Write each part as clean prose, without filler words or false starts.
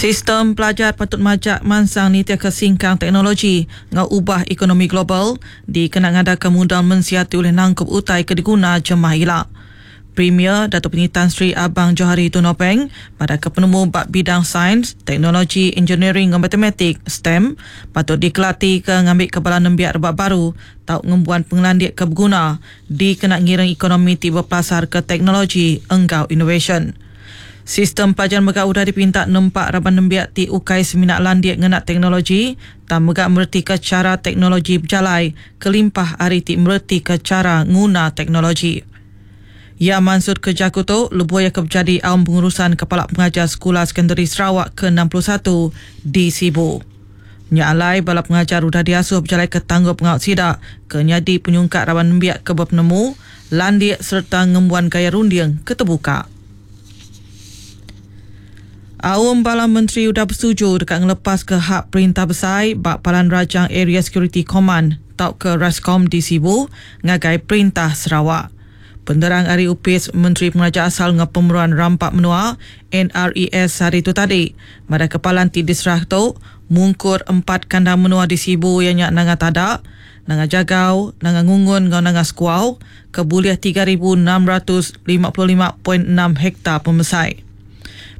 Sistem pelajar patut majak mansang nitihka singkang teknologi enggau ubah ekonomi global dikena ngadaka mudal mensia ti ulih nangkup utai ke diguna jemah ila. Premier Datuk Patinggi Tan Sri Abang Johari Tun Openg madahka penemu ba bidang Sains, Teknologi, Engineering enggau Matematik, stem, patut dikelatika ngambika bala nembiak rebak baru tau ngembuan pengelandik ke beguna dikena ngiring ekonomi ti bepelasarka teknologi enggau inovasyen. Sistem pelajar mega udah dipinta nempa raban nembiak ti ukai semina landik ngena teknologi tang mega meretika chara teknologi bejalai kelimpah ari ti meretika chara nguna teknologi. Iya mansutka jaku tu lebuh iya ke bejadi Aum Pengurusan Kepala Pengajar Sekula Sekondari Sarawak ke 61 di Sibu. Nya alai, bala pengajar udah diasuh bejalaika tanggungpengawa sida ke nyadi penyungkak raban nembiak ke bepenemu, landik sereta ngembuan gaya runding ke tebuka. Aum bala menteri udah besetuju deka ngelepaska hak perintah besai ba Palan Rajang Area Security Command tauka RASCOM di Sibu ngagai Perintah Sarawak. Penerang ari Opis Menteri Pengeraja Asal enggau Pemeruan Rampa Menua, NRES, sehari tu tadi madahka palan ti diserah tu mungkur empat kandang menua di Sibu iya nya Nanga Tada, Nanga Jagau, Nanga Ngungun enggau Nanga Sekuau ke bulih 3655.6 hektar pemesai.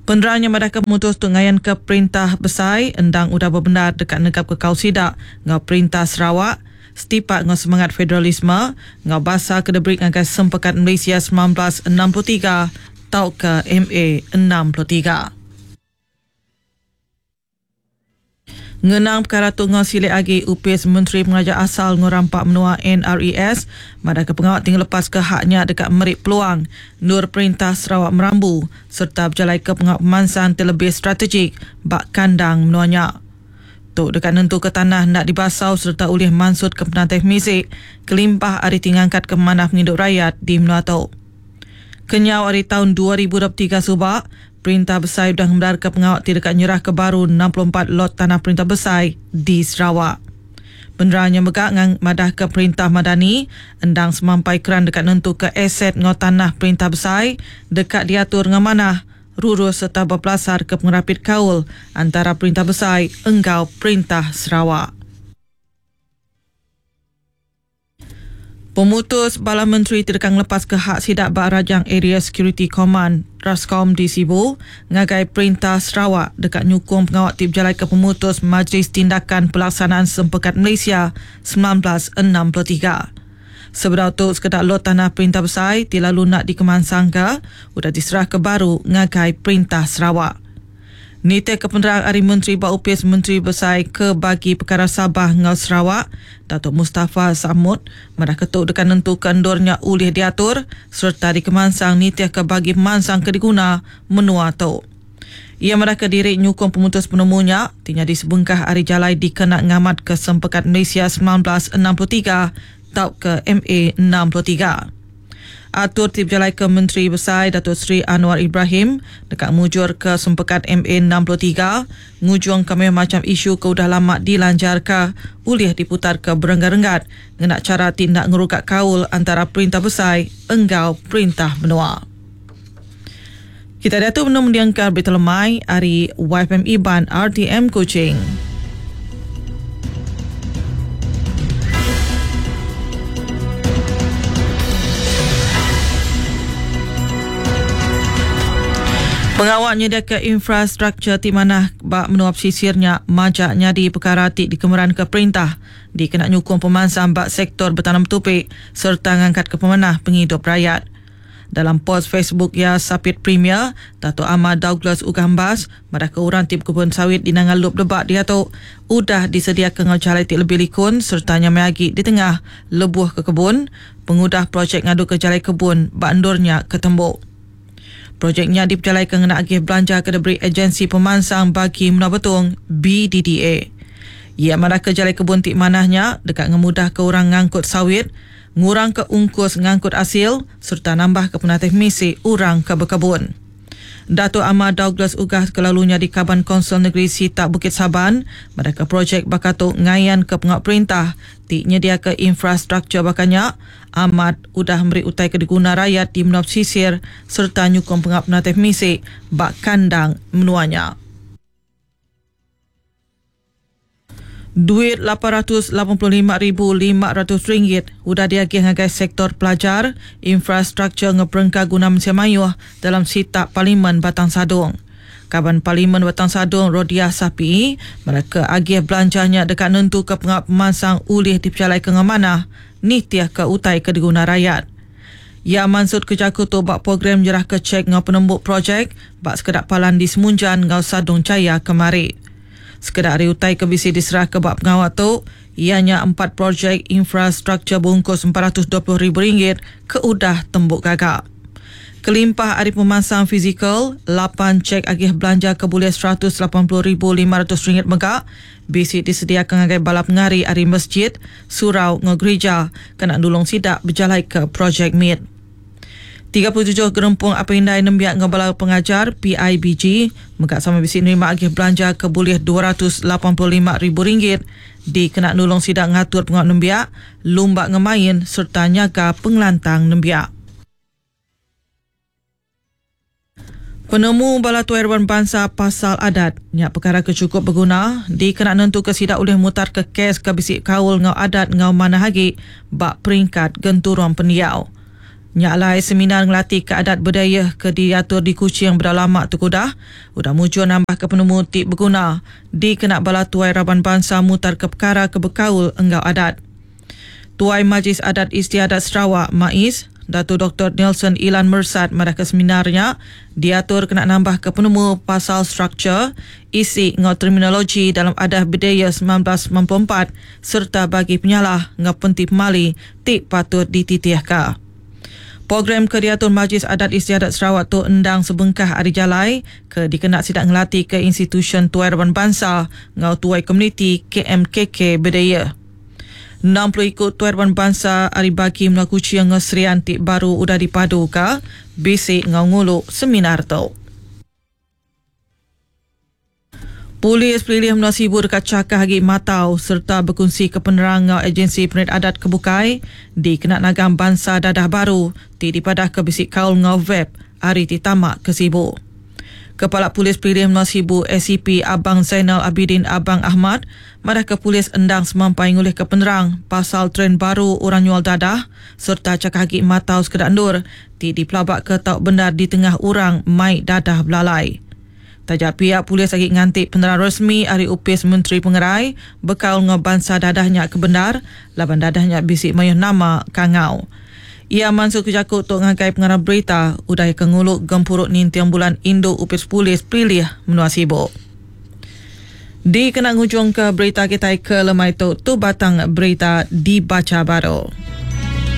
Penerang nya madahka pemutus tu ngayanka perintah besai endang udah bebendar deka negapka kaul sida enggau perintah Sarawak setipak enggau semangat federalisme enggau basa ke diberi ngagai Sempekat Malaysia 1963 tauka MA 63. Ngenang pekara tu enggau silik agi, Opis Menteri Pengeraja Asal enggau Rampa Menua, NRES, madahka pengawa ti ngelepaska hak nya deka meri peluang endur Perintah Sarawak merambu sereta bejalaika pengawa pemansang ti lebih strategik ba kandang menua nya. Tu deka nentuka tanah enda dibasau sereta ulih mansutka penatai pemisi kelimpah ari ti ngangkatka pemanah pengidup rayat di menua tu. Kenyau ari taun 2023 suba, Perintah Besai udah ngemendarka pengawa ti deka nyerahka baru 64 lot tanah Perintah Besai di Sarawak. Penerang nya mega madahka Perintah Madani endang semampai keran deka nentuka aset enggau tanah Perintah Besai deka diatur enggau manah, rurus sereta bepelasarka pengerapit kaul antara Perintah Besai enggau Perintah Sarawak. Pemutus bala menteri ti deka ngelepaska hak sida ba Rajang Area Security Command, Rascom, di Sibu ngagai Perintah Sarawak deka nyukung pengawa ti bejalaika pemutus Majlis Tindakan Pelaksanaan Sempekat Malaysia 1963. Sebedau tu sekeda lot tanah Perintah Besai ti lalu enda dikemansangka udah diserahka baru ngagai Perintah Sarawak. Nitihka penerang ari Menteri ba Opis Menteri Besai ke Bagi Pekara Sabah enggau Sarawak, Datuk Mustapha Sakmud, madahka tu deka nentuka endur nya ulih diatur sereta dikemansang nitihka bagi pemansang ke diguna menua tu. Iya madahka diri nyukung pemutus penemu nya ti nyadi sebengkah ari jalai dikena ngamatka Sempekat Malaysia 1963 tauka MA 63. Atur ti bejalaika Menteri Besai Datuk Seri Anwar Ibrahim deka mujurka Sempekat MA 63 ngujungka mayuh macham isu ke udah lama dilanjarka ulih diputarka berenggat-renggat ngena chara ti enda ngeruga kaul antara Perintah Besai enggau Perintah Menua. Kita diatu benung mendingka berita lemai ari YFM Iban RTM Kuching. Pengawa nyediaka infrastruktur ti manah ba menua pesisir nya majak nyadi pekara ti dikemeranka perintah dikena nyukung pemansang ba sektor betanam betupi sereta ngangkatka pemanah pengidup rayat. Dalam pos Facebook iya, Sapit Premier, Datuk Amar Douglas Uggah Embas madahka orang ti bekebun sawit di Nanga Lup Debak diatu udah disediaka enggau jalai ti lebih likun sereta nyamai agi ditengah lebuh ke kebun pengudah projek ngaduka jalai kebun ba endur nya ke tembu. Projek nya dipejalaika ngena agih belanja ke diberi Agensi Pemansang Bagi Menua Betong, BDDA. Iya madahka jalai kebun ti manah nya deka ngemudahka orang ngangkut sawit ngurangka ungkus ngangkut asil sereta nambahka penatai pemisi orang ke bekebun. Datuk Amar Douglas Uggah ke lalu nyadi Kaban Kaunsil Negeri Sitak Bukit Saban madahka projek baka tu ngayanka pengawa perintah ti nyediaka infrastruktur baka nya amat udah meri utai ke diguna rayat di menua pesisir sereta nyukung pengawa penatai pemisi ba kandang menua nya. Duit RM885,500 udah diagih ngagai sektor pelajar, infrastruktur enggau perengka guna mensia mayuh dalam sitak Parlimen Batang Sadong. Kaban Parlimen Batang Sadong Rodiah Sapiee madahka agih belanja nya deka nentuka pengawa pemansang ulih dipejalaika enggau manah nitihka utai ke diguna rayat. Iya mansutka jaku tu ba program nyerahka chek enggau penembu projek ba sekeda palan di Semunjan enggau Sadong Jaya kemari. Sekeda ari utai ke bisi diserahka ba pengawa tu iya nya empat projek infrastruktur beungkus RM420 ribu ke udah tembu gaga. Kelimpah ari pemansang fizikal, lapan chek agih belanja ke bulih RM180,500 mega bisi disediaka ngagai bala pengari ari mesjid, surau enggau gerija kena nulung sida bejalaika projek mit. 37 gerempung apai indai nembiak enggau bala pengajar, PIBG, mega sama bisi nerima agih belanja ke bulih RM285,000 dikena nulung sida ngatur pengawa nembiak, lumba enggau main sereta nyaga pengelantang nembiak. Penemu bala tuai raban bansa pasal adat nya pekara ke chukup beguna dikena nentuka sida ulih mutarka kes ke bisi kaul enggau adat enggau manah agi ba peringkat genturung pendiau. Nya alai seminar ngelatika adat bedayah ke diatur di Kuching bedau lama tu ke udah, udah mujur nambahka penemu ti beguna dikena bala tuai raban bansa mutarka pekara ke bekaul enggau adat. Tuai Majlis Adat Istiadat Sarawak, MAIS, Datu Doktor Neilson Ilan Mersat madahka seminar nya diatur kena nambahka penemu pasal struktur, isi enggau terminologi dalam Adah Bedaya 1994 sereta bagi penyalah enggau penti pemali ti patut dititihka. Program ke diatur Majlis Adat Istiadat Sarawak tu endang sebengkah ari jalai ke dikena sida ngelatika institusyen tuai raban bansa enggau tuai komuniti KMKK Bedaya. 60 iku tuai raban bansa ari bagi menua Kuching enggau Serian ti baru udah dipaduka bisi enggau ngulu seminar tu. Polis Pelilih Menua Sibu deka chakah agi matau sereta bekunsika penerang enggau agensi penerit adat ke bukai dikena nagang bansa dadah baru ti dipadahka bisi kaul enggau vape ari ti tama ke Sibu. Kepala Polis Pelilih Menua Sibu ACP Abang Zainal Abidin Abang Ahmad madahka polis endang semampai ngulihka penerang pasal trend baru orang nyual dadah sereta chakah agi matau sekeda endur ti dipelabaka tau bendar ditengah orang mai dadah belalai. Taja pia polis agi nganti penerang resmi ari Opis Menteri Pengerai bekaul enggau bansa dadah nya ke bendar laban dadah nya bisi mayuh nama kangau. Iya mansutka jaku tu ngagai pengarang berita udah iya ke ngulu Gempuru Ninting Bulan Indu Opis Polis Pelilih Menua Sibu. Dikena ngujungka berita kitai ke lemai tu, tu batang berita dibacha baru.